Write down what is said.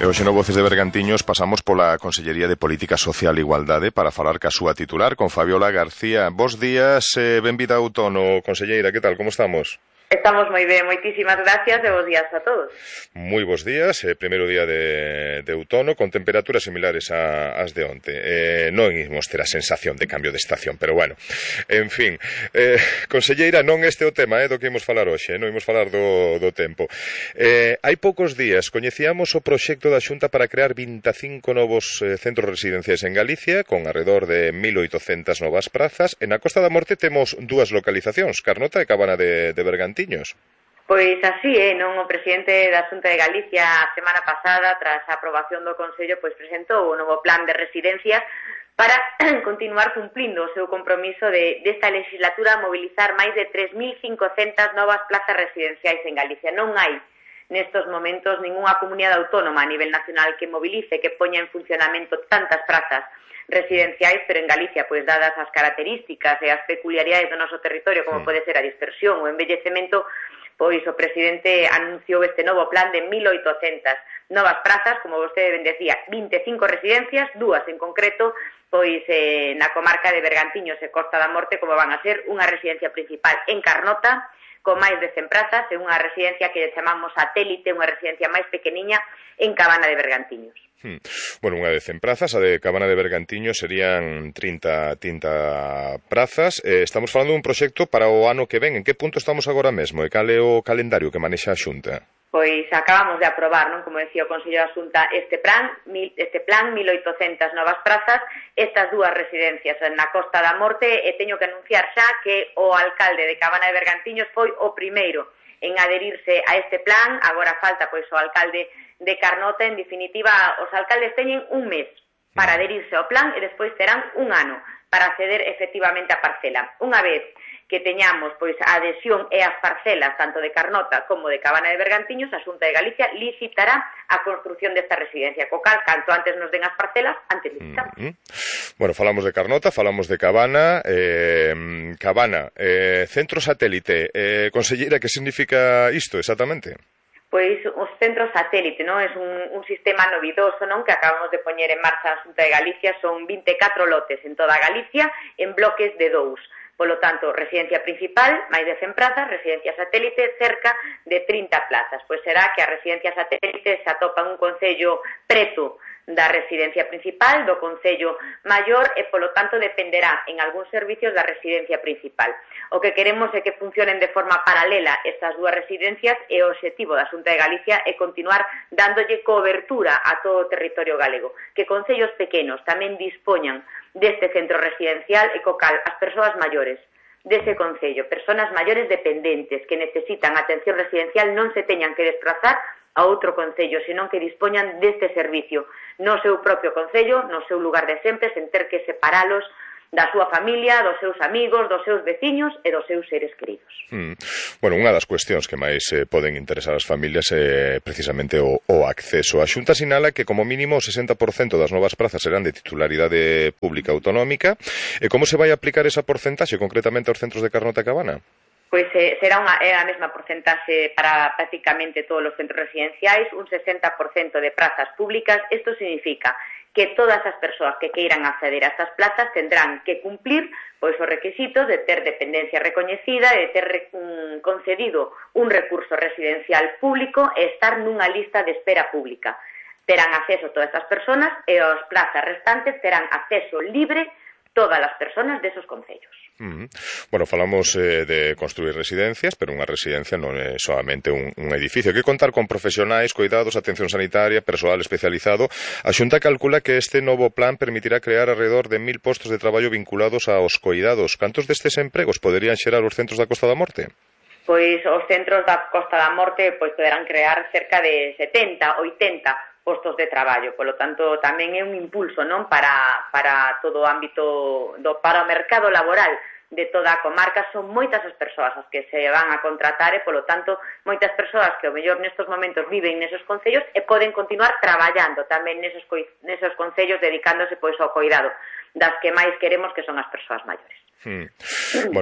E hoxe no Voces de Bergantiños pasamos pola Consellería de Política Social e Igualdade para falar ca súa titular, con Fabiola García. Bos días, benvida a outono, conselleira, que tal, como estamos? Estamos moi ben, moitísimas gracias e bos días a todos. Moi bos días, primeiro día de outono, con temperaturas similares ás de onte. Non imos ter a sensación de cambio de estación, pero bueno, en fin. Conselleira, non este o tema do que imos falar hoxe, non imos falar do tempo. Hai poucos días coñecíamos o proxecto da Xunta para crear 25 novos centros residenciais en Galicia, con alrededor de 1.800 novas prazas. En a Costa da Morte temos dúas localizacións, Carnota e Cabana de Bergantiños. Pois así non? O presidente da Xunta de Galicia a semana pasada, tras a aprobación do Consello, pois presentou o novo plan de residencias para continuar cumplindo o seu compromiso desta legislatura a mobilizar máis de 3.500 novas plazas residenciais en Galicia. Non hai nestos momentos ningunha comunidade autónoma a nivel nacional que movilice, que poña en funcionamento tantas prazas residenciais, pero en Galicia, pois dadas as características e as peculiaridades do noso territorio, como pode ser a dispersión ou o envellecemento, pois o presidente anunciou este novo plan de 1.800 novas prazas, como vostede ben decía, 25 residencias, dúas en concreto, pois na comarca de Bergantiños e Costa da Morte, como van a ser unha residencia principal en Carnota, con máis de 100 prazas, e unha residencia que chamamos satélite, unha residencia máis pequeniña en Cabana de Bergantiños. Bueno, unha de 100 prazas, a de Cabana de Bergantiños serían 30 prazas. Estamos falando dun proxecto para o ano que ven. En que punto estamos agora mesmo? E cal é o calendario que manexa a Xunta? Pois acabamos de aprobar, non, como decía o Consello da Xunta, este plan 1.800 novas prazas, estas dúas residencias na Costa da Morte, e teño que anunciar xa que o alcalde de Cabana de Bergantiños foi o primeiro en adherirse a este plan. Agora falta pois o alcalde de Carnota. En definitiva, os alcaldes teñen un mes para adherirse ao plan e despois terán un ano para acceder efectivamente á parcela. Unha vez que teñamos pois a adhesión e as parcelas tanto de Carnota como de Cabana de Bergantiños, a Xunta de Galicia licitará a construción desta residencia. Co cal, canto antes nos den as parcelas, antes licitamos. Bueno, falamos de Carnota, falamos de Cabana. Cabana, centro satélite. Conselleira, que significa isto exactamente? Pois os centros satélite, non? É un sistema novidoso, non? Que acabamos de poñer en marcha a Xunta de Galicia. Son 24 lotes en toda Galicia, en bloques de 2. Polo tanto, residencia principal, máis de 100 plazas, residencia satélite, cerca de 30 plazas. Pois será que a residencia satélite se atopa en un concello preto da residencia principal, do concello maior, e polo tanto dependerá en algúns servicios da residencia principal. O que queremos é que funcionen de forma paralela estas dúas residencias, e o obxectivo da Xunta de Galicia é continuar dándolle cobertura a todo o territorio galego, que concellos pequenos tamén dispoñan deste centro residencial, e co cal as persoas maiores dese concello, persoas maiores dependentes que necesitan atención residencial, non se teñan que desplazar a outro concello, senón que dispoñan deste servicio no seu propio concello, no seu lugar de sempre, sen ter que separalos da súa familia, dos seus amigos, dos seus veciños e dos seus seres queridos. Bueno, unha das cuestións que máis poden interesar as familias é precisamente o acceso. A Xunta sinala que como mínimo o 60% das novas prazas serán de titularidade pública autonómica. E como se vai aplicar esa porcentaxe concretamente aos centros de Carnota e Cabana? Pois será a mesma porcentaxe para prácticamente todos os centros residenciais, un 60% de prazas públicas. Isto significa que todas as persoas que queiran acceder a estas plazas tendrán que cumplir pois os requisitos de ter dependencia recoñecida, de ter concedido un recurso residencial público e estar nunha lista de espera pública. Terán acceso todas estas persoas, e as plazas restantes terán acceso libre todas as persoas desos concellos. Bueno, falamos de construir residencias, pero unha residencia non é solamente un edificio. Hai que contar con profesionais, cuidados, atención sanitaria, persoal especializado. A Xunta calcula que este novo plan permitirá crear alrededor de 1.000 postos de traballo vinculados aos cuidados. Cantos destes empregos poderían xerar os centros da Costa da Morte? Pois os centros da Costa da Morte poderán crear cerca de 70, 80 postos de traballo. Polo tanto, tamén é un impulso, non, para todo o ámbito para o mercado laboral de toda a comarca. Son moitas as persoas as que se van a contratar, e polo tanto moitas persoas que ao mellor nestos momentos viven nesos concellos e poden continuar traballando tamén nesos concellos, dedicándose pois ao cuidado das que máis queremos, que son as persoas maiores.